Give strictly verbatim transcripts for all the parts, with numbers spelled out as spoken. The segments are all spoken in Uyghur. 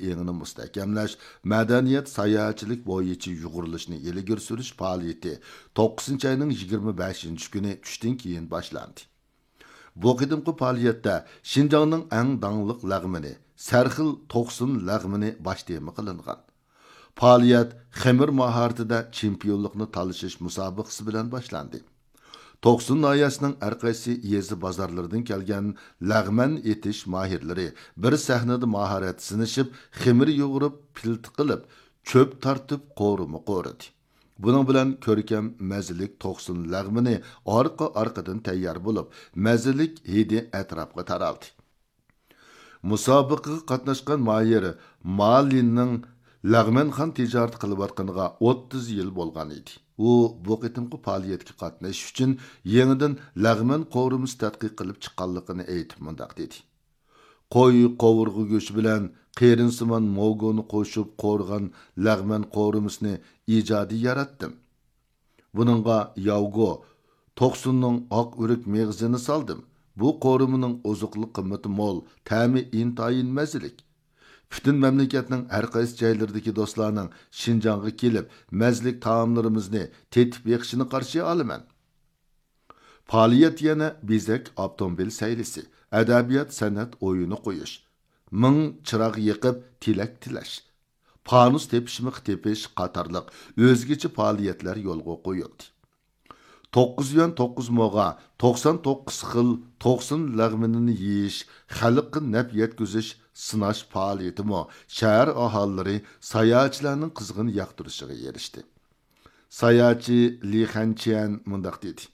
ئېڭىنى مۇستەھكەملەش، مەدەنىيەت، ساياھەتچىلىك بويىچە يۇغۇرۇلۇشنى ئىلگىرى سۈرۈش پائالىيىتى توققۇزىنچى ئاينىڭ يىگىرمە بەشىنچى كۈنى چۈشتىن كېيىن باشلاندى. بۇ قېتىمقى پائالىيەتتە شىنجاڭنىڭ ئەڭ داڭلىق لەغمىنى، سەرخىل توقسۇن لەغمىنى باش تېما قىلىنغان. پائالىيەت خېمىر ماھارىتىدە چېمپىيونلۇقنى تالىشىش مۇسابىقىسى بىلەن باشلاندى. توقسۇن ناھىيەسىنىڭ ھەرقايسى يېزا بازارلىرىدىن كەلگەن لەغمەن ئېتىش ماھىرلىرى بىر سەھنىدە ماھارەت سىنىشىپ، خېمىر يۇغۇرۇپ، پىلتە قىلىپ، چۆپ تارتىپ، قورۇما قورۇدى. بۇنىڭ بىلەن كۆركەم مەززىلىك توقسۇن لەغمىنى ئارقا-ئارقىدىن تەييار بولۇپ، مەززىلىك ھىدى ئەتراپقا تارالدى. مۇسابىقىگە قاتناشقان ماھىر ما لىننىڭ لەغمەنخان تىجارىتى قىلىۋاتقىنىغا ئوتتۇز يىل بولغان ئىدى. ئۇ بۇ قېتىمقى پائالىيەتكە قاتنىشىش ئۈچۈن يېڭىدىن لەغمەن قورۇمىسى تەتقىق قىلىپ چىققانلىقىنى ئېيتىپ مۇنداق دېدى: «قوي قوۋۇرغا گۆشى بىلەن قېرىنسىمان موگونى قوشۇپ قورغان لەغمەن قورۇمىسىنى ئىجادىي ياراتتىم. بۇنىڭغا ياۋگو، توقسۇننىڭ ئاق ئۆرۈك مېغىزىنى سالدىم. بۇ قورۇمىنىڭ ئوزۇقلۇق قىممىتى مول، تەمى ئىنتايىن مەززىلىك. پۈتۈن مەملىكەتنىڭ ھەر قايسى جايلىرىدىكى دوستلارنىڭ شىنجاڭغا كېلىپ، مەززىلىك تائاملىرىمىزنى تېتىپ بېقىشىنى قارشى ئالىمەن.» پائالىيەت يەنە بېزەك ئاپتوموبىل سەيلىسى، ئەدەبىيات سەنئەت ئويۇنى قويۇش، مىڭ چىراغ يېقىپ تىلەك تىلەش، پانۇس تېپىشمىقى تېپىش قاتارلىق ئۆزگىچە پائالىيەتلەر يولغا قويۇلدى. توققۇز يۈەن توققۇز موغا توقسان توققۇز خىل توقسۇن لەغمىنىنى يېيىش، خەلققە نەپ يەتكۈزۈش، سىناش پائالىيىتىمۇ شەھەر ئاھالىلىرى، ساياھەتچىلەرنىڭ قىزغىن ياقتۇرۇشىغا ئېرىشتى. ساياھەتچى لى خەنچيەن مۇنداق دېدى: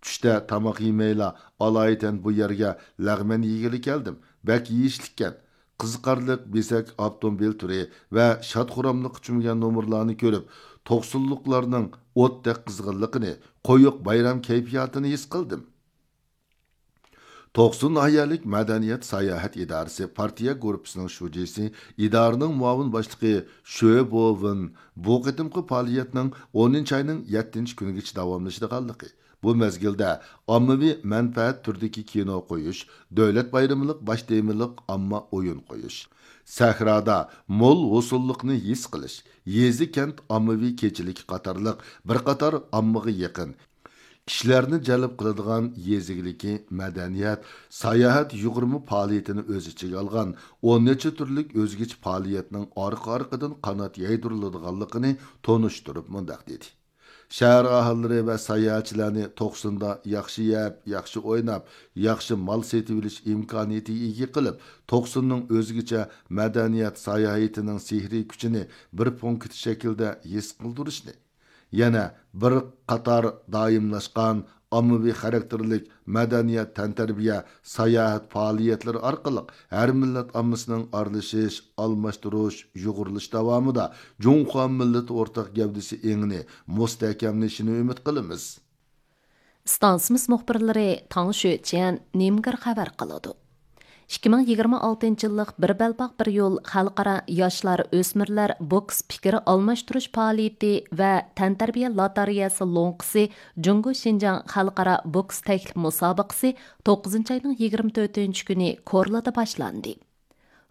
«چۈشتە تاماق يېمەيلا، ئالايىتەن بۇ يەرگە لەغمەن يېگىلى كەلدىم. بەك يېيىشلىككەن. قىزىقارلىق بېزەك ئاپتوموبىل تۈرى ۋە شاد-خۇراملىققا چۆمگەن نومۇرلارنى كۆرۈپ، توقسۇنلۇقلارنىڭ ئوتتەك قىزغىنلىقىنى، قويۇق بايرام كەيپىياتىنى ھېس قىلدىم.» توقسۇن ناھىيەلىك مەدەنىيەت ساياھەت ئىدارىسى پارتىيە گۇرۇپپىسىنىڭ شۇجىسى، ئىدارىنىڭ مۇئاۋىن باشلىقى شۆ بوۋېن بۇ قېتىمقى پائالىيەتنىڭ ئونىنچى ئاينىڭ يەتتىنچى كۈنىگىچە داۋاملىشىدىغانلىقى، بۇ مەزگىلدە ئاممىۋى مەنپەئەت تۈرىدىكى كىنو قويۇش، دۆلەت بايرىملىق باش تېمىلىق ئامما ئويۇن قويۇش، سەھرادا مول ھوسۇللۇقنى ھېس قىلىش، يېزا-كەنت ئاممىۋى كېچىلىكى قاتارلىق بىر قاتار ئاممىغا يېقىن، كىشىلەرنى جەلپ قىلىدىغان يېزا ئىگىلىكى، مەدەنىيەت، ساياھەت يۇغۇرما پائالىيىتىنى ئۆز ئىچىگە ئالغان ئون نەچچە تۈرلۈك ئۆزگىچە پائالىيەتنىڭ ئارقا-ئارقىدىن قانات يايدۇرۇلىدىغانلىقىنى تونۇشتۇرۇپ مۇنداق دېدى: «شەھەر ئاھالىلىرى ۋە ساياھەتچىلەرنى توقسۇندا ياخشى يەپ، ياخشى ئويناپ، ياخشى مال سېتىۋېلىش ئىمكانىيىتىگە ئىگە قىلىپ، توقسۇننىڭ ئۆزگىچە مەدەنىيەت ساياھىتىنىڭ سېھرىي كۈچىنى بىر پونكىت شەكلىدە ھېس قىلدۇرۇشنى، يەنە بىر قاتار دائىملاشقان ئاممىۋى خاراكتېرلىك مەدەنىيەت، تەنتەربىيە، ساياھەت پائالىيەتلىرى ئارقىلىق ھەر مىللەت ئاممىسىنىڭ ئارىلىشىش، ئالماشتۇرۇش، يۇغۇرۇلۇش داۋامىدا جۇڭخۇا مىللىتى ئورتاق گەۋدىسى ئېڭىنى مۇستەھكەملىشىنى ئۈمىد قىلىمىز.» ئىستانسىمىز مۇخبىرلىرى تاڭ شۆچيەن، نىمگېر خەۋەر قىلىدۇ. ئىككى مىڭ يىگىرمە ئالتىنچى يىللىق بىر بەلباغ بىر يول خەلقئارا ياشلار، ئۆسمۈرلەر بوكس پىكىر ئالماشتۇرۇش پائالىيىتى ۋە تەنتەربىيە لاتارىيەسى لوڭقىسى جۇڭگو شىنجاڭ خەلقئارا بوكس تەكلىپ مۇسابىقىسى توققۇزىنچى ئاينىڭ يىگىرمە تۆتىنچى كۈنى كورلادا باشلاندى.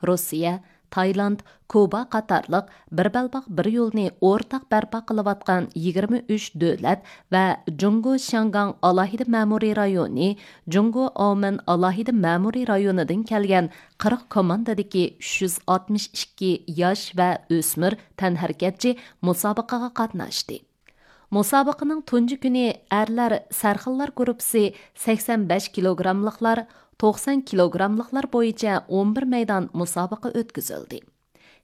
روسىيە، تايلاند، كۇبا قاتارلىق بىر بەلباغ بىر يولنى ئورتاق بەرپا قىلىۋاتقان يىگىرمە ئۈچ دۆلەت ۋە جۇڭگو شياڭگاڭ ئالاھىدە مەمۇرىي رايونى، جۇڭگو ئاۋمېن ئالاھىدە مەمۇرىي رايونىدىن كەلگەن قىرىق كوماندىدىكى ئۈچ يۈز ئاتمىش ئىككى ياش ۋە ئۆسمۈر تەنھەرىكەتچى مۇسابىقىگە قاتناشتى. مۇسابىقىنىڭ تۇنجى كۈنى ئەرلەر سەرخىللار گۇرۇپپىسى سەكسەن بەش كىلوگراملىقلار، توقسان كىلوگراملىقلار بويىچە ئون بىر مەيدان مۇسابىقە ئۆتكۈزۈلدى.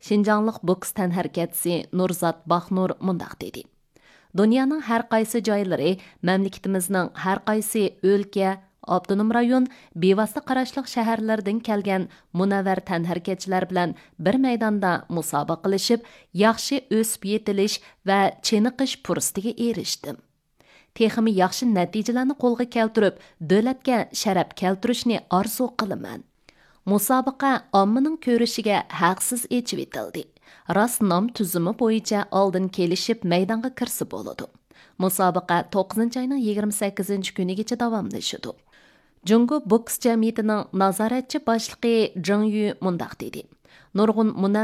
شىنجاڭلىق بوكس تەنھەرىكەتچىسى نۇرزات باخنۇر مۇنداق دېدى: «دۇنيانىڭ ھەر قايسى جايلىرى، مەملىكىتىمىزنىڭ ھەر قايسى ئۆلكە، ئاپتونوم رايون، بىۋاسىتە قاراشلىق شەھەرلەردىن كەلگەن مۇنەۋۋەر تەنھەرىكەتچىلەر بىلەن بىر مەيداندا مۇسابىقىلىشىپ، ياخشى ئۆسۈپ يېتىلىش ۋە چېنىقىش پۇرسىتىگە ئېرىشتىم. تېخىمۇ ياخشى نەتىجىلەرنى قولغا كەلتۈرۈپ، دۆلەتكە شەرەپ كەلتۈرۈشنى ئارزۇ قىلىمەن.» مۇسابىقە ئاممىنىڭ كۆرۈشىگە ھەقسىز ئېچىۋېتىلدى. راست نام تۈزۈمى بويىچە ئالدىن كېلىشىپ مەيدانغا كىرسە بولىدۇ. مۇسابىقە توققۇزىنچى ئاينىڭ يىگىرمە سەككىزىنچى كۈنىگىچە داۋاملىشىدۇ. جۇڭگو بوكس جەمئىيىتىنىڭ نازارەتچى باشلىقى جېڭ يۈ مۇنداق دېدى: «نۇرغۇن مۇنەۋۋەر